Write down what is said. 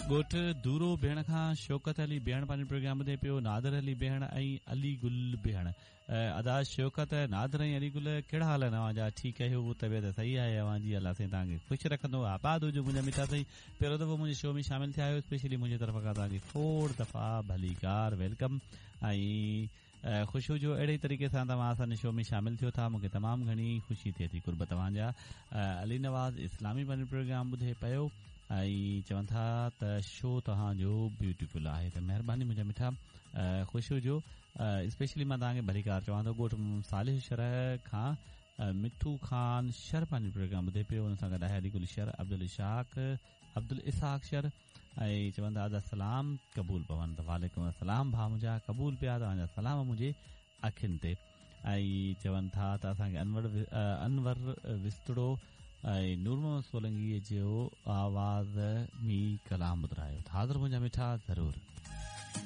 ڳوٺ دورو بيهڻ کان شوڪت علي بيهڻ پنهنجو پروگرام ٻڌي پيو نادر علي بيهڻ ۽ علي گل بيهڻ ادا شوڪت نادر ۽ علي گل ڪهڙا حال آهن اوهان جا ٺيڪ آهيو طبيعت صحيح آهي اوهان جي الله سائين توهان کي خوش رکندو آباد هجو منهنجا مٺا سائين پهريون دفعو منهنجي شو ۾ شامل ٿيا آهيو اسپيشلي منهنجي طرف کان توهان کي کوڙ دفعا ڀليڪار welcome ۽ خوش هجو اهڙي ئي طريقي سان توهان اسان جي شو ۾ شامل ٿيو ٿا مونکي تمام گهڻي خوشي ٿئي ٿي قرب توهان جا علي نواز اسلامي پنهنجو پروگرام ٻڌي پيو ۽ چون ٿا ته شو توهان جو بيوٽيفل آهي ته مهرباني منهنجا مٺا خوش هجو اسپيشلي مان توهان کي ڀليڪار چوان ٿو ڳوٺ صالح شر کان مٺو خان شر پنهنجو پروگرام ٻڌي پيو ان سان گڏ آهي علي گل شر عبدالشاق عبدالاسحاق شر ۽ چون ٿا ادا سلام قبول پون ته وعليڪم السلام ڀاء منهنجا قبول پيا توهان جا سلام منهنجي اکين تي ۽ چون ٿا ته اسان کي انور انور وسطڙو ۽ نور محمد سولنگي جو آواز ۾ ڪلام ٻڌرايو ته حاضر منهنجا مٺا ضرور.